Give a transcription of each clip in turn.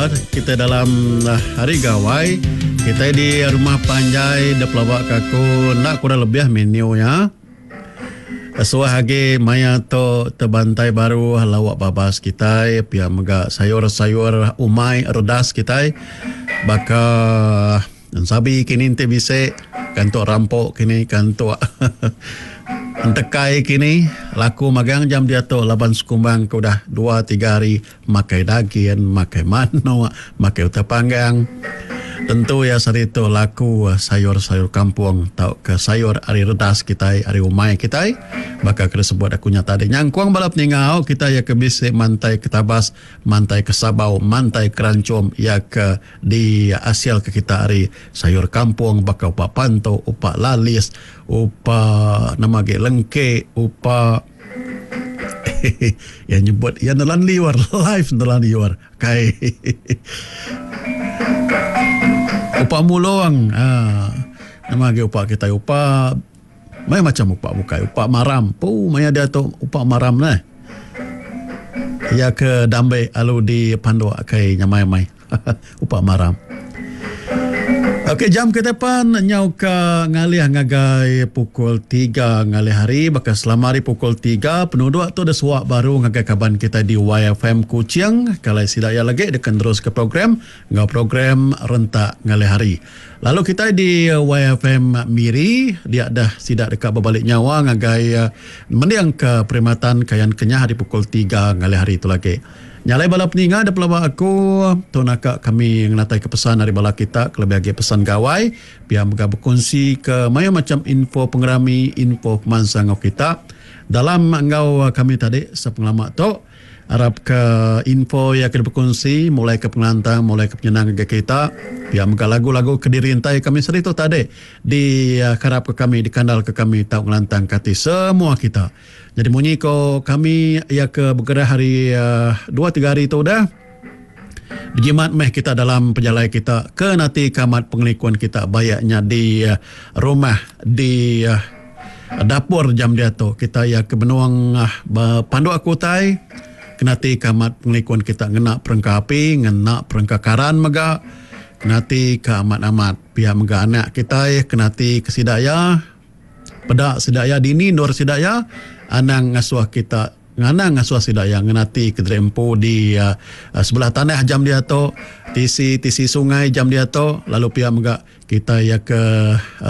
Kita dalam Hari Gawai. Kita di rumah panjai da pelaba ka aku enda kurang lebih menu iya. Suah agi maya tu tebantai baru lauk babas kitai pia mega sayur-sayur umai redas kitai baka ensabi kini enti bisi kantuk rampo kini kantuk entekai kini laku magang jam diatu laban sekumbang ke udah dua tiga hari Makai dagin, makai manuk, makai utai panggang. Tentu iya sehari tu laku sayur-sayur kampung tauka sayur ari redas kitai, ari umai kitai. Baka ke disebut aku nya tadi. Nyangkung bala peninga au kitai iya ke bisi mantai ke tabas, mantai ke sabau, mantai ke ranchum iya ke diasilka kita ari sayur kampung baka upa pantu, upa lalis, upa nama agi lengke, upa. Iya nyebut iya nelan liur live nelan liur kai. Upa mulung aaa nama agi upa kitai upa mayuh macam upa bukai upa maram pu maya diatu upa maram neh. Iya ke dambe alu di panduk kai nyamai amai. Upa maram. Okey jam kitai pan nyau ka ngalih ngagai pukul tiga ngalih hari baka selama hari pukul tiga penuduk tu disuak baru ngagai kaban kitai di YFM Kuching kalai sida iya lagi deka neruska program enggau program rentak ngalih hari. Lalu kitai di YFM Miri dia dah sida deka bebali nyawa ngagai mendingka perkhidmatan Kayan Kenyah di pukul tiga ngalih hari tu lagi. Nya alai bala peninga da pelaba aku tu naka kami ngenatai ke pesan ari bala kita kelebih agi pesan gawai pia mega bekunsi ke mayuh macham info pengerami info pemansang enggau kita dalam enggau kami tadi sepengelama tu arap ke info iya ke dibekunsi mulai ke pengelantang mulai ke penyenang ngagai kita pia mega lagu-lagu ke dirintai kami sehari tu tadi di karap ke kami dikandal ke kami tau ngelantang ke ati semua kita. Nyadi munyi ko kami iya ke begerah hari dua tiga hari tu udah bejimat meh kita dalam pejalai kita ke nati ke amat pengelikun kita bayak nya di rumah di dapur jam diatu kita iya ke benung bepanduk ke utai ke nati ke amat pengelikun kita ngena perengka api ngena perengka karan mega ke nati ke amat-amat pia mega anak kitai ke nati ke sida iya. Peda sida iya dini endur sida iya anang ngasuh kita anang ngasuh sida iya ngenati kediri empu di sebelah tanah jam diatu tisi tisi sungai jam diatu lalu pia mega kita iya ke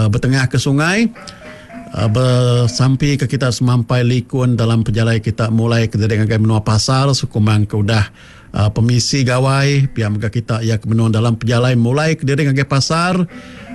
betengah ke sungai besampi ke kita semampai likun dalam pejalai kita mulai kediri ngagai menua pasar sekumbang ke udah Pemisi gawai pia mega kita iya ke menung dalam pejalai mulai kediri ngagai pasar.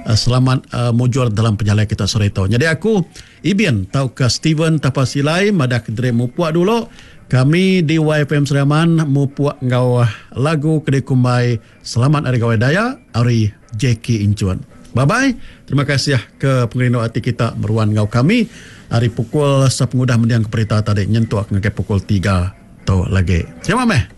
Selamat mujur dalam pejalai kita sehari tu. Nyadi aku Ibin tauka Steven Tapa Silai madah kediri mupuk dulu. Kami di YFM Sri Aman mupuk enggau lagu ke dikumbai Selamat Hari Gawai Dayak ari Jackie Inchun. Bye bye. Terima kasih ke pengerindu ati kita meruan enggau kami ari pukul sepengudah mending ke berita tadi nyentuk ngagai pukul tiga. Tu lagi. Terima meh.